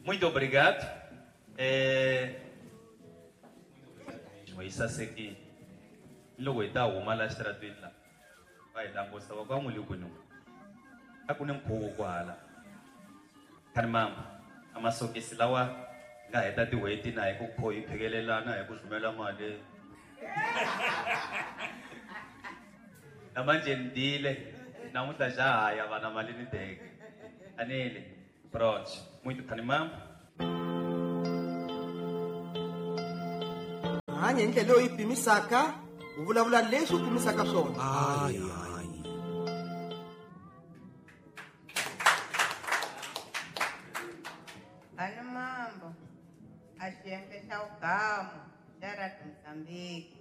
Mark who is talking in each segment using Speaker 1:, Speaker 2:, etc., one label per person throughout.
Speaker 1: Muito obrigado. Yi sasekile loko hi ta huma la xitaratweni la va hi langusa va ku a n'wi le kwini a ku ni nkhuvo kwahala khanimamba a masokisi lawa nga heta tin'hweti na hi ku kho hi phikelelana hi ku rhumela mali na manje ni dile namuntlha xa ha ya vana mali ni teke anile pronto muito khanimamba.
Speaker 2: Hanya hi ndlela leyi u yi pimisaka, u vulavula leswi u pimisaka swona.
Speaker 3: Ani mambo a xiyenge xa vugamu xa Radio Mozambique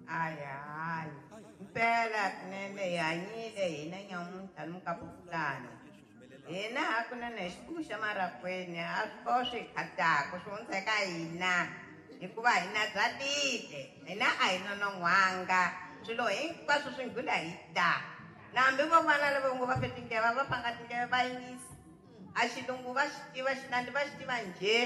Speaker 3: a hi hanyi mpela kunene hi hanyile hina nyamuntlha ni mukaputani hina hakunene hi xipuku xa marakwini a swi ko swi khataka swi hundza eka hina hikuva hina bya tile hina a hi nonon'hwanga swilo hinkwaswo swi nghula hi ta na hambi vo vana lava ngo va fe tindleve va pfanga tindleve va yingisa a xilungu va xi tiva xinandi va xi tiva njhe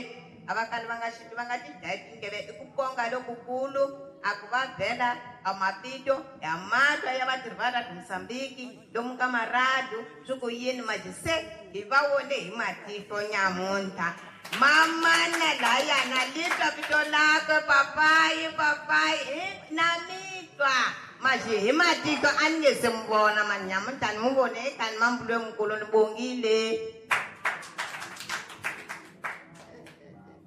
Speaker 3: a va kali va nga xi va nga ti dlayi tindleve i ku konga lokukulu a ku va vhela a mapito ya matwa ya vatirhi va Radio Mozambique lomu ka maradu swi ku yini manje se hi va vone hi matihlo nyamuntlha mamana layana litwa vito lakwe papayi papayi na mitwa manje hi matihlo a ni nge se mi vona mani nyamuntlha ni mu vone ekani mambulo mukulu ni bongile.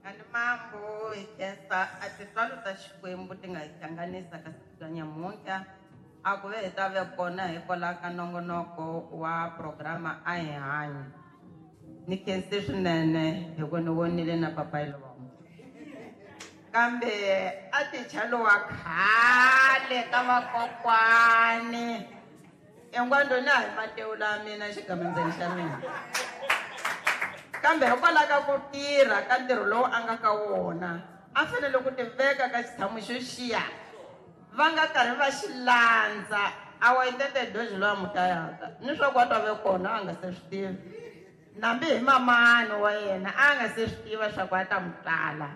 Speaker 4: Ani mambo hi khensa a tintswalo ta Xikwembu ti nga hi hlanganisa ka siku ra nyamuntlha a ku ve hi ta ve kona hikwalaho ka nongonoko wa programa a hi hanyi. Ni khense swinene hi ku ni vonile na papayi lowa kambe a ticha lowa khale ka vakokwani engwandoni a hi matewu la mina xigamandzeni xa mina kambe hikwalaho ka ku tirha ka ntirho lowu a nga ka wona a fanele ku tiveka ka xitshamo xo xiya va nga karhi va xi landza a wa itete doji lowa mutayaka ni swa ku a ta ve kona a nga se swi tivi nambi hi mamani wa yena a nga se swi tiva swa ku a ta mu tala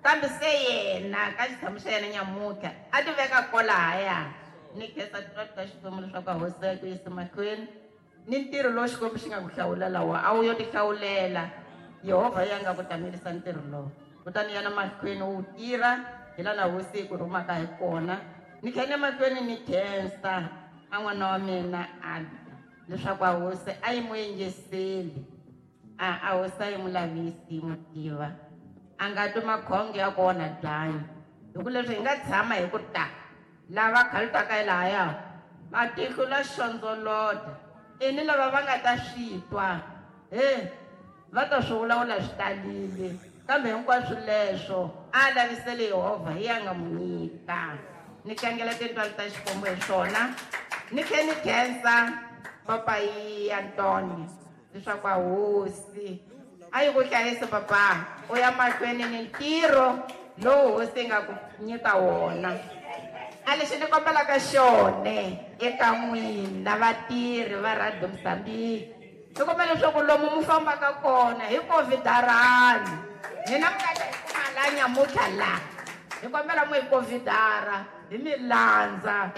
Speaker 4: kambe se yena ka xitshamo xa yena nyamuntlha a ti veka kolahaya ni khensa tintswalo ta Xikwembu leswaku a hosi ya ku yisa mahlweni ni ntirho lowu Xikwembu xi nga ku hlawulela wa a wu yo ti hlawulela Yehovha ya nga ku tamelisa ntirho lowu kutani yana mahlweni wu tirha hi laha hosi yi ku rhumaka hi kona ni kha ni mahlweni ni khensa a n'wana wa mina a leswaku a hosi a yi mu yingiseli a hosi a yi mu lavisi yi mu tiva a nga twi makhongo ya ku onha byanyi hi ku leswi hi nga tshama hi ku ta lava khalutaka hi lahaya va tihlula xondzolota i ni lava va nga ta swi twa he va ta swi vulavula swi talile kambe hinkwaswo leswo a lavisele Yehovha hi ya nga mu nyika ni tlangela tintswalo ta Xikwembu hi swona ni tlhe ni khensa papayi Antoni leswaku a hosi a yi ku hlayisi papa u ya mahlweni ni ntirho lowu hosi yi nga ku nyika wona a lexi ni kombelaka xone eka n'wina vatirhi va Radio Mozambique ni kombela leswaku lomu mu fambaka kona hi covidarani hina mi nga ta hi kuma la nyamuntlha la hi kombela mu hi covidara hi mi landza.